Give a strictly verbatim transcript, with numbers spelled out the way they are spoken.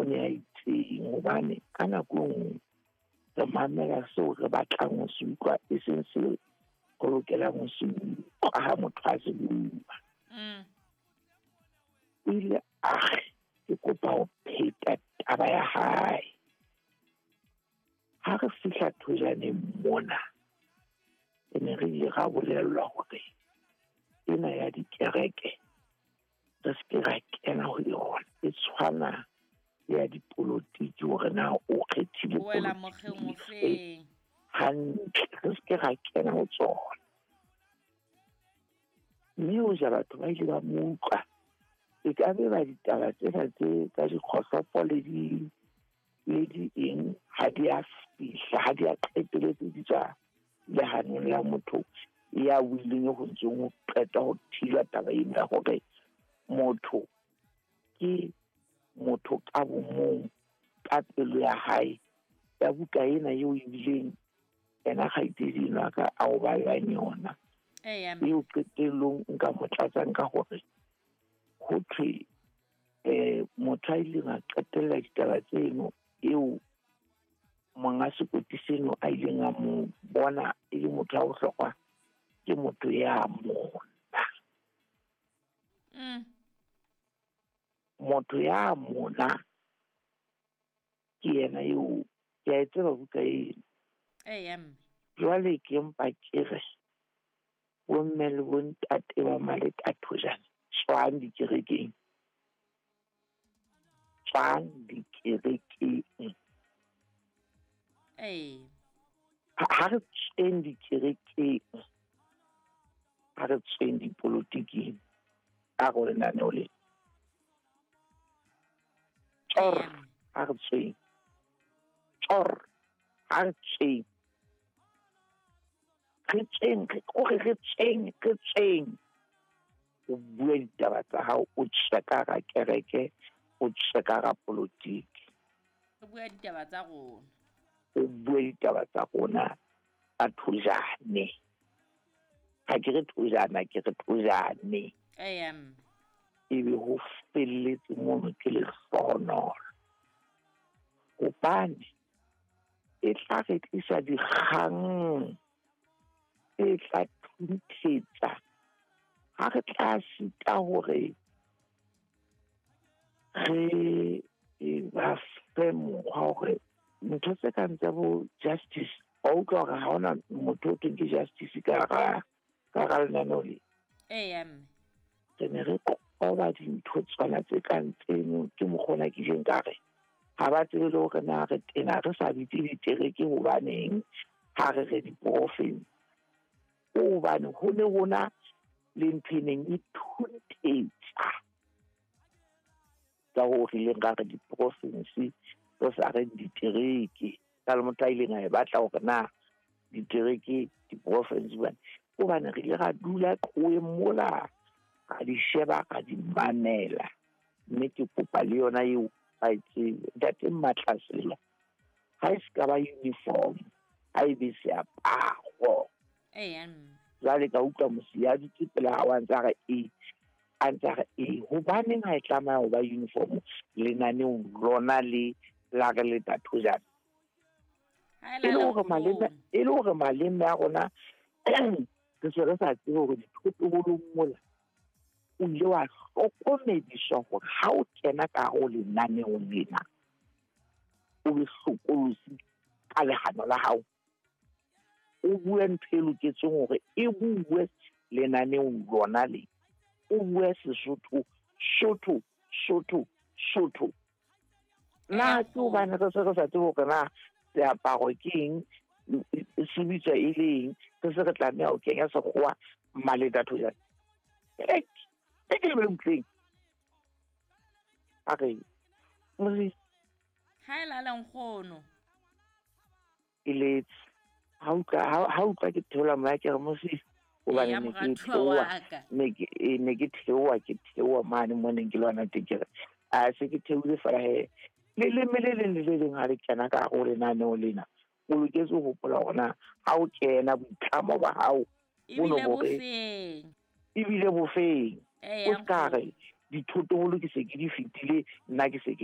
ne a itseng, hobane ka nako e nngwe re mamela seo re batlang ho se utlwa, e seng seo re lokelang ho se utlwa ha motho a se bua. Mm. O ile a re ke kopa ho pheta taba ya hae. Ha re fihla Thojaneng mona, re ne re ile ra bolellwa hore ena ya dikereke re se ke ra kena ho yona, e tshwana le ya dipolotiki hore na o kgethile O wela polotiki mokgeng o efe feng? hantle, re se ke ra kena ho tsona. Mme hoja batho ba ile ba mo utlwa, e ka be ba ditaba tsena tse tsa dikgohlopo le di, le di eng ha di a fihla, ha di a qetelletse di tswa lehanong la motho ya buileng ho ntseng ho qeta ho thibela taba ena ya hore motho ke motho ka bomong, ka pelo ya hae. Ya buka ena eo ebileng ena kgaitsedi enwa ka a o ballang yona, Eya, mme. eo qetellong nka mo tlatsang ka hore ho thwe, eh, motho a ileng a qetella ditaba tseno eo monga sekoti seno a ileng a mo bona e le motho wa bohlokwa, ke motho ya mona. Mm. Motho ya mona ke yena eo, ke a e tseba buka eno. Eya, mme. Jwale ke mpa ke re bomme le bontate ba Maleta Thojane, tswang dikerekeng, tswang dikerekeng. Ee. Ha, ha re tsweng dikerekeng, ha re tsweng dipolotiking, a re lenaneo le. Tjor, Eya, mme. ha re tsweng. Tjor, ha re tsweng. Re tsweng, re kore re tsweng, re tsweng. O bue ditaba tsa hao, o tswe ka hara kereke, o tswe ka hara polotiki. Re bua ditaba tsa rona. O bue ditaba tsa rona tsa Thojane. Ha ke re Thojana, ke re Thojane. Eya, mme. Ebe ho felletse mono ke lehlohonolo. Hobane e tla re tlisa dikgang tse tla thunthetsa ha re tla sita hore re ba fe mokgwa hore ntho tse kang tsa bo justice, wa utlwa hore ha hona motho o thweng ke justice ka hara, ka hara lenaneo le. Eya, mme. Re ne re qoba dintho tsona tse kang tseno, ke mokgwa ona ke ileng ka re ha ba tsebe le hore na re tena re sa bitse ditereke hobaneng ha re re diporofense. Hobane ho ne hona le ntho e neng e thunthetsa ka hoo re ileng ra re diporofense re sa reng ditereke. Ka le motho a ileng a e batla hore na ditereke diporofense hobane, hobane re ile ra dula qhoweng mola, ra di sheba, ra di mamela. Mme ke kopa le yona eo ba e tsebe. Ntate Mmatlasela, ha e se ka ba uniform, ha e be seaparo. Eya, mme. Jwale ka utlwa mosi ya dutse pela hao a ntse a re e, a ntse a re e. Hobaneng ha e tlameha ho ba uniform lenaneong lona le la re leta Thojane? Ha e E le lala hore maleme, nkgono. e le hore maleme a rona re se re sa tsebe hore dithotobolong mola o ile wa hlokomediswa hore ha o kena ka hare ho lenaneong lena, o be hlokolosi ka lehano la hao. O bue ntho e loketseng hore e bue lenaneong lona le. O bue Sesotho, Sotho, Sotho, Sotho. Na ke hobane re se re sa tsebe hore na seaparo ke eng, se bitswa e le eng, re se re tlameha ho kenya sekgowa Maleta Thojane. E ke lebele butleng. A re, Mosi. Ha e lala nkgono. Ke letse. Ha utlwa, ha, ha utlwa ke theola moya ke re Mosi, hobane Eya, ne ke moratuwa theoha, wa ka. ne ke, e, ne ke theoha, ke theoha mane mo neng ke lwana teng, ke re, a se ke theohile feela he. Leleme le leng le le leng ha le kena ka hare ho lenaneo lena, o loketse ho hopola hore na ha o kena boitlamo ba hao bo no Ebile bo re bofeng. Ebile bofeng. Eya, O ska re, dithotoholo ke se ke di fetile, nna ke se ke